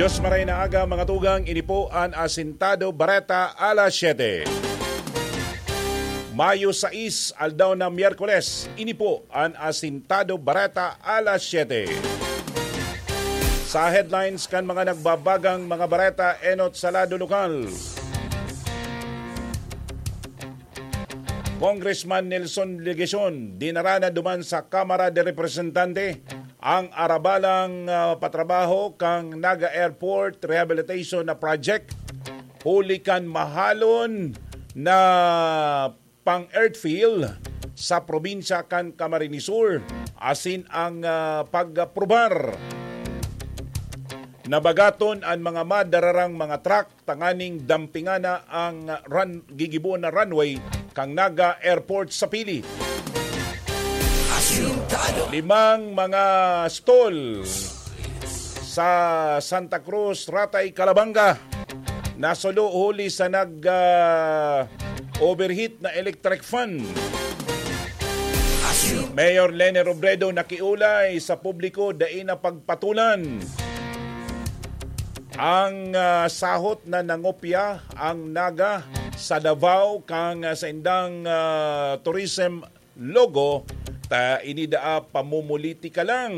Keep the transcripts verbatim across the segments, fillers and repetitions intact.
Diyos maray na aga, mga tugang, ini po an Asintado Bareta alas siyete. Mayo sais, aldaw na Miyerkules, ini po an Asintado Bareta alas siyete. Sa headlines kan mga nagbabagang mga bareta enot sa lado lokal. Congressman Nelson Legacion dinara na duman sa Kamara de Representante ang arabalang, ah, patrabaho kan Naga Airport Rehabilitation na project, huli kan mahalon na pang-earthfill sa probinsya kan Camarines Sur, asin ang, ah, pag-aprobar na bagaton an mga madararang mga truck tanganing dampingana ang run-, gigibohon na runway kan Naga Airport sa Pili. Asintado. Limang mga stall sa Santa Cruz, Ratay, Calabanga nasulo huli sa nag, ah, overheat na electric fan. Asintado. Mayor Leni Robredo nakiulay sa publiko dai na pagpatulan ang, ah, sahot na nangopya ang Naga sa Davao kan, ah, saindang, ah, tourism logo, ta ini daa pamumulitika lang.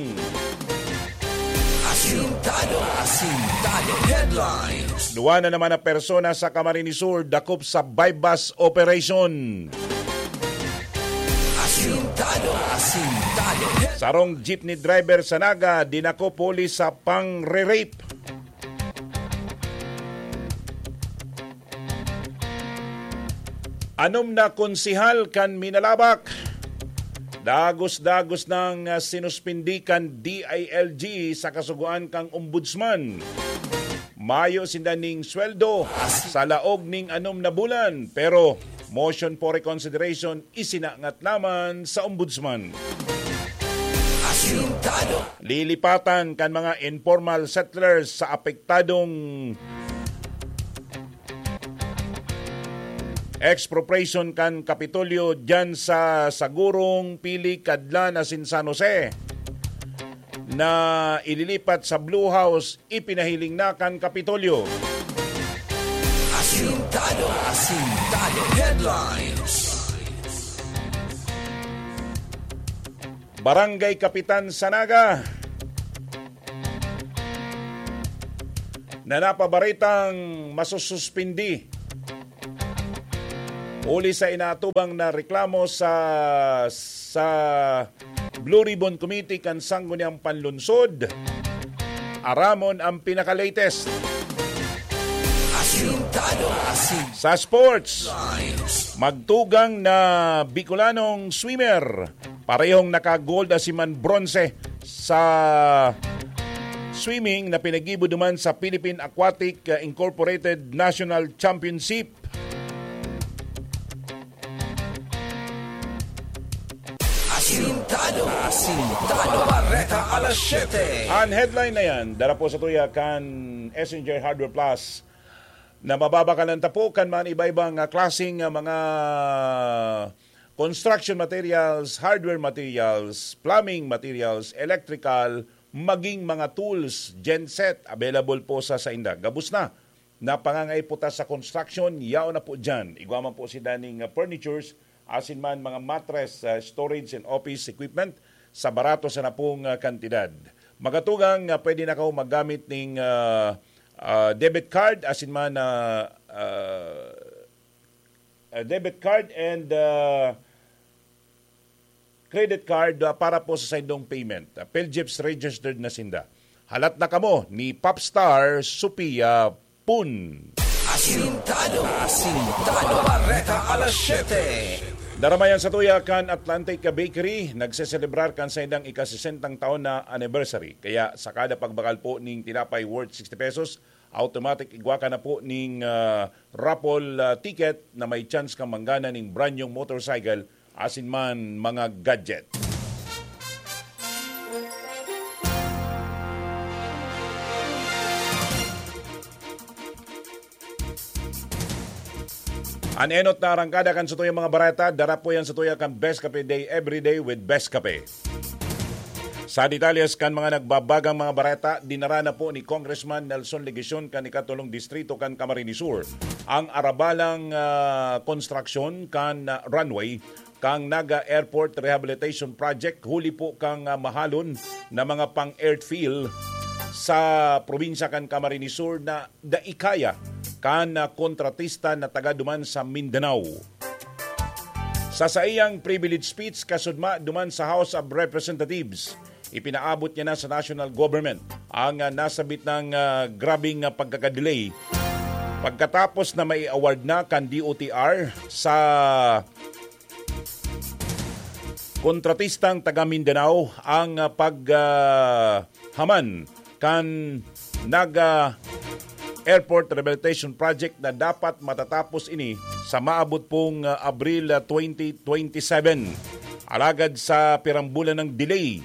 Asintado. Asintado Headlines. Duwa na naman na persona sa Camarines Sur dakop sa buy-bust operation. Asintado. Asintado Headlines. Sarong jeepney driver sa Naga dinakop huli sa pangre-rape. Anom na konsehal kan Minalabac, dagos-dagos nang, ah, sinuspindi kan D I L G sa kasugoan kan Ombudsman. Mayo sinda ning sweldo sa laog ning anom na bulan, pero motion for reconsideration isinangat naman sa Ombudsman. Asintado. Lilipatan kan mga informal settlers sa apektadong expropriation kan Kapitolyo diyan sa Sagurong, Pili, Cadlan asin San Jose na ililipat sa Blue House, ipinahiling na kan Kapitolyo. Asintado. Asintado Headlines. Barangay Kapitan sa Naga na napabaretang masususpindi huli sa inaatubang na reklamo sa, sa Blue Ribbon Committee kan Sangguniang Panlunsod. Aramon ang pinaka-latest. Asintado. Asin. Sa sports, Lines. Magtugang na Bicolanong swimmer, parehong naka-gold asin man bronze sa swimming na pinaggibo duman sa Philippine Aquatic, uh, Incorporated National Championship. Asintado. Asintado. Bareta alas siyete. Ang headline na yan, dara po sa tuya kan S N J Hardware Plus na mababakalan ta po kan mga iba-ibang, ah, klaseng, ah, mga construction materials, hardware materials, plumbing materials, electrical, maging mga tools, genset, available po sa sainda. Gabos na na pangangaipo ta sa construction, yaon na po dyan. Igwa man po sinda ning, ah, furnitures, asin man mga mattress, ah, storage and office equipment sa barato sana pong, ah, kantidad. Magatugang, ah, pwede na kaw maggamit ning, ah, ah, debit card, asin man, ah, ah, ah, debit card and, ah, credit card, ah, para po sa saindong payment. Ah, PhilGEPS registered na sinda. Halat na kamo ni Popstar Sophia Pun. Asintado. Asintado. Bareta alas siyete. Daramayan sa tuya kan Atlantic Bakery, nagseselebrar kan saindang ika-sesentang taon na anniversary. Kaya sa kada pagbakal po ning tinapay worth sixty pesos, automatic igwa ka na po ning, ah, raffle, ah, ticket na may chance kang manggana ning brand new motorcycle asin man mga gadget. An enot na arangkada kan satuyang mga bareta, dara po yan satuya kan Best Kape Day, every day with Best Kape. Sa detalles kan mga nagbabagang mga bareta, dinara na po ni Congressman Nelson Legacion kan ikatulong distrito kan Camarines Sur ang arabalang, ah, konstruksyon kan, ah, runway kan Naga Airport Rehabilitation Project, huli po kan, ah, mahalon na mga pang-airfield sa probinsya kan Camarines Sur na dai kaya kan, ah, kontratista na taga duman sa Mindanao. Sa saiyang privilege speech kasudma duman sa House of Representatives, ipinaabot niya na sa national government ang, ah, nasabit ng, ah, grabing, ah, pagkakadelay. Pagkatapos na mai-award na kan D O T R sa kontratistang taga Mindanao ang, ah, pag, ah, haman kan Naga Airport Rehabilitation Project na dapat matatapos ini sa maabot pong, ah, Abril, ah, twenty twenty-seven. Alagad sa pirang bulan ng delay,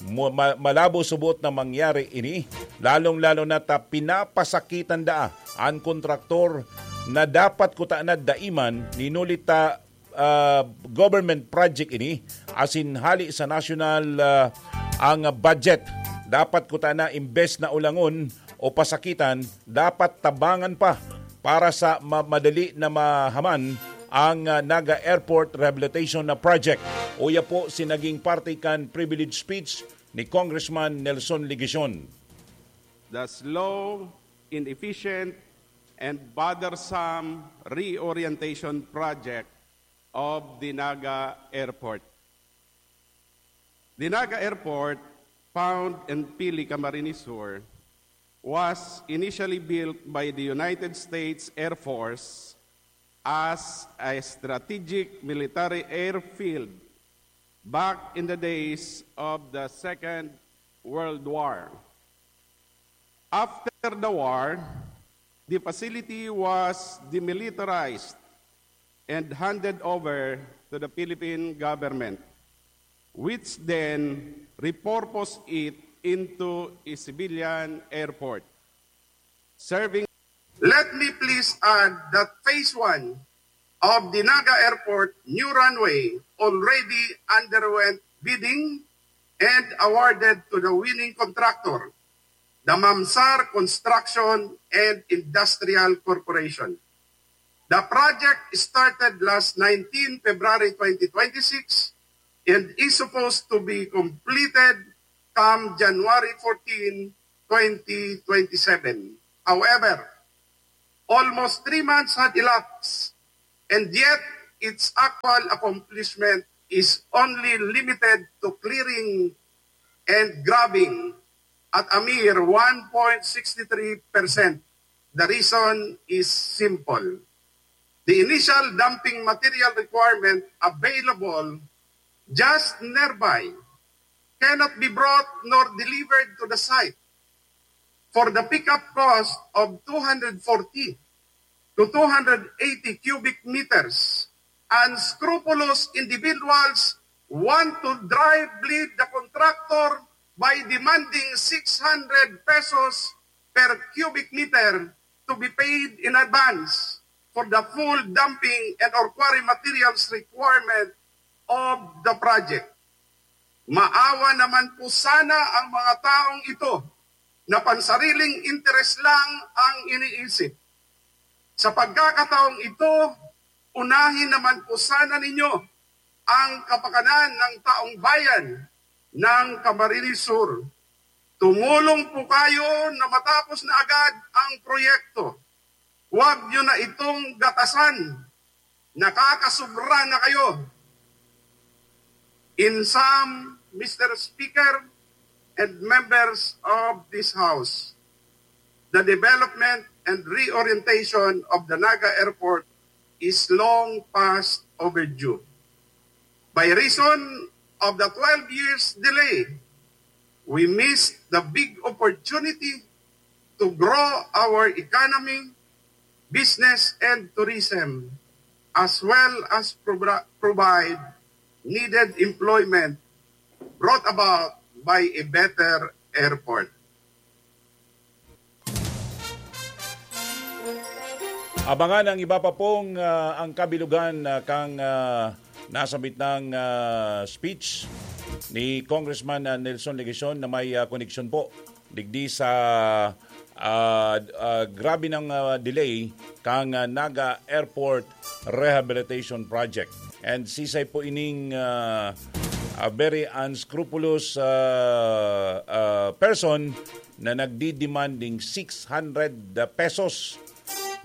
mo-, ma-, malabo subot na mangyari ini, lalong-lalo na ta pinapasakitan daa an kontraktor na dapat kuta na daiman, ninuli ta, ah, government project ini, asin hali sa national, ah, ang budget. Dapat kuta na imbes na ulangon o pasakitan, dapat tabangan pa para sa ma-, madali na mahaman ang, ah, Naga Airport Rehabilitation na Project. Uya po si naging parte kan privilege speech ni Congressman Nelson Legacion. The slow, inefficient, and bothersome reorientation project of the Naga Airport. The Naga Airport, found in Pili, Camarines Sur, was initially built by the United States Air Force as a strategic military airfield back in the days of the Second World War. After the war, the facility was demilitarized and handed over to the Philippine government, which then repurposed it into a civilian airport, serving. Let me please add that phase one of the Naga Airport new runway already underwent bidding and awarded to the winning contractor, the Mamsar Construction and Industrial Corporation. The project started last nineteen February twenty twenty-six and is supposed to be completed come January fourteen, twenty twenty-seven. However, almost three months had elapsed, and yet its actual accomplishment is only limited to clearing and grubbing at a mere one point six three percent. The reason is simple. The initial dumping material requirement available just nearby cannot be brought nor delivered to the site for the pickup cost of two hundred forty to two hundred eighty cubic meters. Unscrupulous individuals want to dry bleed the contractor by demanding six hundred pesos per cubic meter to be paid in advance for the full dumping and or quarry materials requirement of the project. Maawa naman po sana ang mga taong ito na pansariling interes lang ang iniisip. Sa pagkakataong ito, unahin naman po sana ninyo ang kapakanan ng taong bayan ng Camarines Sur. Tumulong po kayo na matapos na agad ang proyekto. Huwag nyo na itong gatasan. Nakakasobra na kayo. In sum, Mister Speaker and members of this House, the development and reorientation of the Naga Airport is long past overdue. By reason of the twelve years delay, we missed the big opportunity to grow our economy, business, and tourism, as well as pro- provide needed employment brought about by a better airport. Abangan ang iba pa pong, ah, ang kabilugan, ah, kang, ah, nasabit ng, ah, speech ni Congressman, ah, Nelson Legacion na may, ah, koneksyon po digdi sa, ah, ah, grabe ng, ah, delay kang, ah, Naga Airport Rehabilitation Project. And sisay po ining, ah, ah, very unscrupulous, ah, ah, person na nagdidemanding six hundred pesos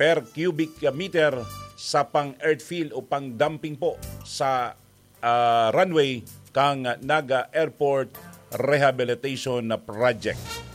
per cubic meter sa pang-earthfill o pang-dumping po sa, ah, runway kang Naga Airport Rehabilitation Project.